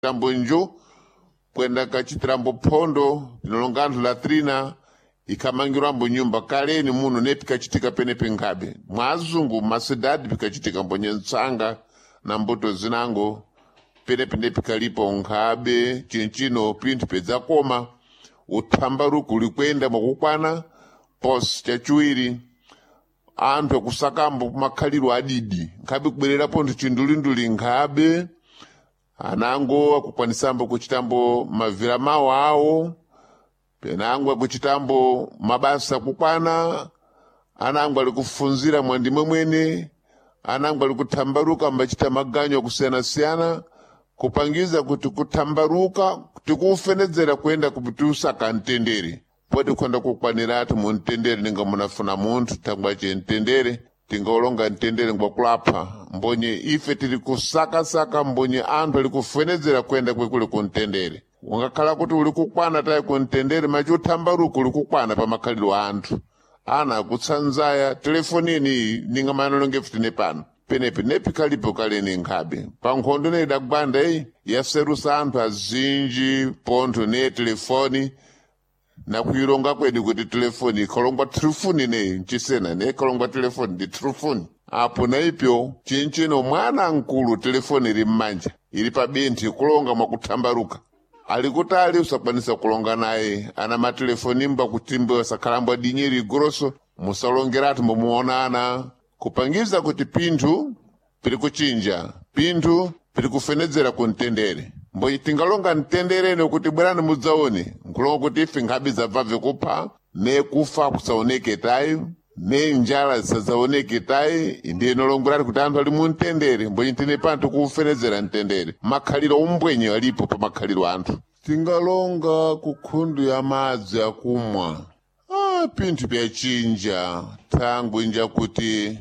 Tambo njo kwenda kachitirambo phondo linolonga anthu latrina ikhamangirwambo nyumba kaleni muno ne pikachitika penepe nkhabe mwazungu mmasidadi pikachitika mbonye ntsanga na mbuto zinango penepe ne pikalipo nkhabe cinchino pinthu pedzakoma uthambaruku ulikwenda mwakukwana posi chachiwiri anthu akusakambo makhaliro adidi nkhabe kubwerera pontho chindulinduli nkhabe anango akukwanisambo kuchitambo mavira mawo awo penango akuchitambo mabasa kukwana anango ali kufunzira mwandimwe mwene anango ali kuthambaruka ambachita maganyo akusiyana-siyana kupangiza kuti kuthambaruka tikufenedzera kuyenda kupitiusaka mtendere poti kukhonda kukwaniratu mu mtendere ninga munafuna munthu thangwace mtendere tingaulonga mtendere ngwakulapha mbonye ife tili kusakasaka mbonye anthu ali kufenedzera kuyenda kwekule ku mtendere ungakhala kuti uli kukwana tayi ku mtendere machi uthambaruko uli kukwana pa makhalidwe a anthu ana akutsanzaya telefoni eniyi ninga manolonge futine pano penepe nepikhalipo kaleni nkhabe pa nkhondo ne idagwanda iyi yaserusa anthu azinji pontho ne telefoni nakuilonga kwedu kuti telefoni ikhalongwa telefoni neyi ncisena ne ikhalongwa telefoni ndi telefoni apo na ipyo cinchino mwana mkulu telefoni ili mmanja ili pa binthi kulonga mwakuthambaruka ali kutali usakwanisa kulonga naye ana matelefoni mba kutimbe wasakhalambwa dinyeri grosso musalongeratu mbomuonana kupangiza kuti pinthu pili kuchinja pinthu pili kufenedzera ku mtendere mbonye tingalonga mtenderene kuti bwerani mudzaone nkulonga kuti ife nkhabe zabva kupha ne kufa kusaoneke tayi ne njala zisadzaoneke tayi ndiye inolongwerati kuti anthu ali mu mtendere mbonye tine panthu kufenedzera mtendere makhaliro umbwenye alipo pa makhaliro anthu tingalonga ku khundu ya madzi akumwa pinthu pyachinja thangwi njakuti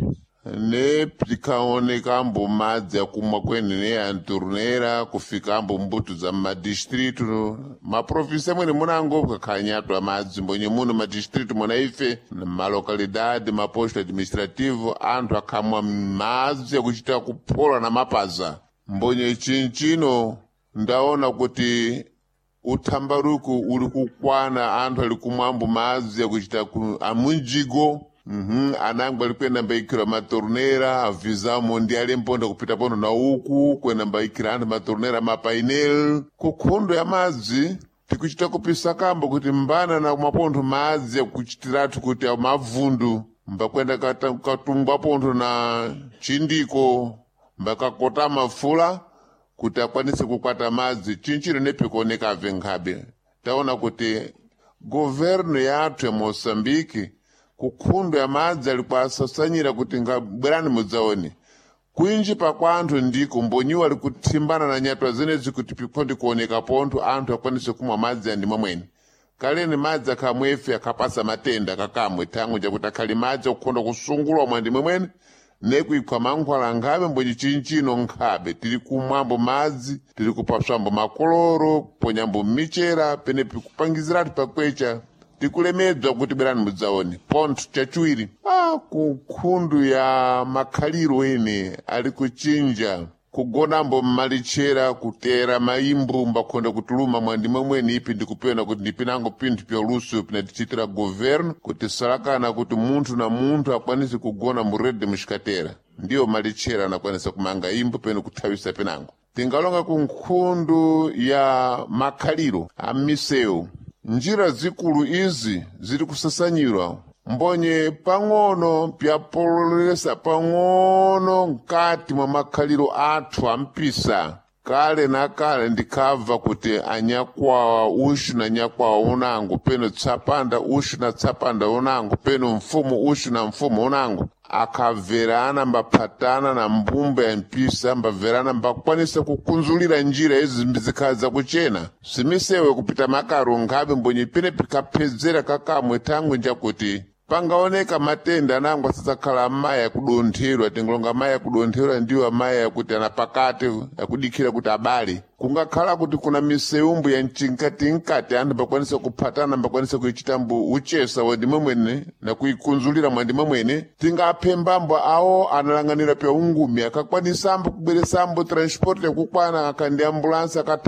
ne pikaonekambo madzi akumwa kwene ne anturnera kufikambo mbuto za madistritu maprovinsi amwene munango kakhanyatwa madzi mbonye muno madistritu muna ife malokalidade maposto administrativo anthu akhamwa madzi akuchita kuphola na mapaza mbonye chinchino ndaona kuti uthambaruku uli kukwana anthu ali kumwambo madzi akuchita ku amunjigo anango ali kuyenda mbaikira matornera avizamo ndi ali mponda kupita pono na uku kuyenda mbaikira anthu matornera mapainel kukhundo ya madzi tikuchita kupisa kambo kuti mbana na mapontho madzi akuchitiratu kuti mavundu mbakwenda katumbwa pontho na chindiko mbakakota mafula kuti akwanise kukwata madzi chinchino nepikuonekave nkhabe taona kuti governo yathu ya moçambique kukhundo ya madzi ali kuasasanyira kuti ngabwerani mudzaone kwinji pakwa anthu ndiko mbonyiwa ali kuthimbana na nyatwa zenezi kuti pikhondi kuoneka pontho anthu akwanise kumwa madzi andimwe mwene kaleni madzi akhamwefe akhapasa matenda kakamwe thangwi jakuti akhali madzi akukhonda kusungulwa mwandimwe mwene nekuikhwa mankhwala nkhabe mbonye chinchino nkhabe tili kumwambo madzi tili kupaswambo makoloro kuponyambo michera penepi kupangiziratu pakwecha tikulemedzwa kuti bwerani mudzaone pontho chachiwiri kukhundu ya makhaliro ene ali kuchinja kugonambo mmalichera kutera maimbu mbakhonda kutuluma mwandimwe mwene ipi ndikupena kuti ndipinango pinthu pya luso pinatichitira governo kuti salakana kuti munthu na munthu akwanise kugona mu rede muxikatera ndiyo malichera anakwanisa kumanga imbu peno kuthawisa penango tingalonga ku nkhundu ya makhaliro a misewu njira zikulu izi ziri kusasanyirwa mbonye pang'ono pyapololesa pang'ono mkati mwa makhaliro athu ampisa kale na kale ndikhabva kuti anyakwawa uxu na nyakwawa unango peno tsapanda uxu na tsapanda unango peno mfumu uxu na mfumu unango akabverana mbaphatana na mbumba ya mpisa mbabverana mbakwanisa kukunzulira njira izi zikhala zakuchena simisewe kupita makaro nkhabe mbonye pene pikaphedzera kakamwe thangwi njakuti Pangaoneka matenda anango asadzakhala amayi akudontherwa, tingolonga amayi akudontherwa ndiwo amayi akuti anapakate akudikhira kuti abale. Kungakhala kuti kuna miseumbu ya mchinkatinkati, anthu mbakwanisa kuphatana, mbakwanisa kuichitambo uchesa wandimwe mwene na kuikunzulira mwandimwe mwene. Tingaphe mbambo awo analang'anira pya ungumi akakwanisambo kubweresambo transport yakukwana akandi ambulansi akatha.